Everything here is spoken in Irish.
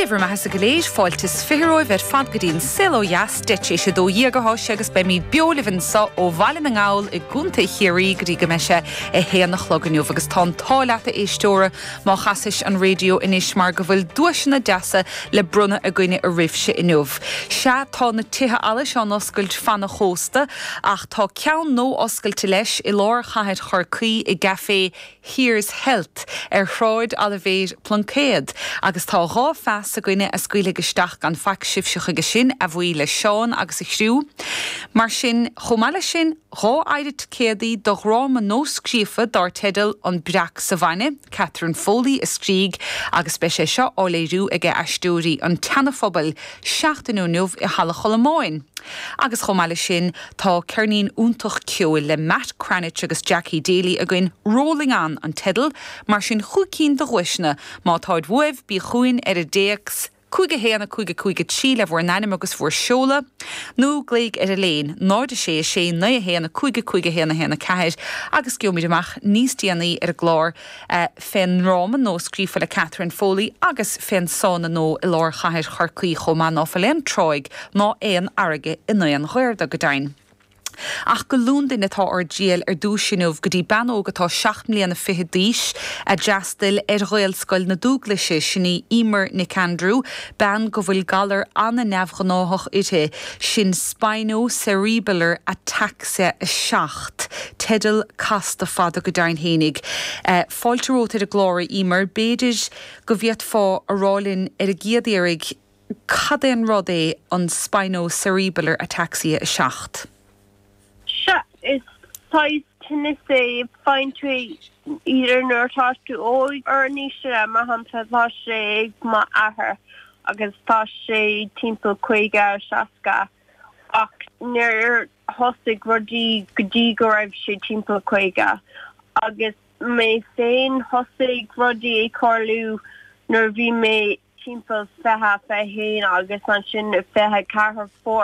Dé bhur mbeathasa go léir, fáilte is 20 romhaibh ar fad go dtí an Saol Ó Dheas, 12:10 atá sé agus beimid beo libh anso ó Bhaile na nGall i gContae Chiarraí go dtí go mbeidh sé a haon a chlog inniu agus tá an t-ádh leat a éisteora má chasais an raidió anois mar go bhfuil duaiseanna deasa le bronnadh againne oraibhse inniu. Sea, tá na tithe allais á n-oscailt fan an chósta ach tá ceann nua-oscailte leis i lár chathair Chorcaí i gCafé Here's Health ar Shráid Oilibhéir Pluincéad agus tá 2 phas againne a scaoilfidh isteach gan faic sibhse chuige sin, a bhuí le Seán agus a chriú. Mar sin, chomh maith leis sin, 2 oighre ticéadaí do dhráma nuascríofa dár teideal An Breac sa Bhainne, Catherine Foley a scrígh agus beidh sé seo á léiriú ag Aisteoirí an tSeana-Phobail seachtain ó inniu i Halla Cholmáin. Agus chomh maith leis sin, tá ceirnín iontach ceoil le Matt Cranitch agus Jackie Daly againn, Rolling On an teideal, mar sin chúig cinn de dhuaiseanna. Má táid uaibh, bí chugainn ar an dtéacs 5 1 5 5 3 le bhur n-ainm agus bhur seoladh, nó glaoigh ar an léin 0 6 6 9 1 5 5 1 1 4 agus gheobhaimid amach níos déanaí ar an gclár fén ndráma nuascríofa le Catherine Foley agus fén sána nua i lár chathair Chorcaí chomh maith ná fuil aon tráigh ná aon fharraige in aon ghaor do, go deimhin. Ach go Londain atá ár dtriall ar dtúis inniu, go dtí bean óg atá seacht mbliana fichead d'aois, a d'fhreastail ar Ghaelscoil na Dúglaise, sin í Emer Nic Aindriú, bean go bhfuil galar an-neamhghnáthach uirthi, sin Spinocerebellar Ataxia 7, teideal casta fada go deimhin fhéinig. Fáilte romhat ar an gclár, a Emer. B'fhéidir go bhféadfá a rá linn ar an gcéad iarraidh cad é an rud é an Spinocerebellar Ataxia 7? Sea, is saghas tinneas é, faigheann tú é either nuair atá tú óg or níos sine, mar shampla tá sé ag m'athair agus tá sé timpeall 50, 60 ach níor thosaigh rudaí go dtí go raibh sé timpeall 50 agus mé féin thosaigh rudaí ag tarlú nuair a bhí mé timpeall 20, 21 agus ansin 24 fuair.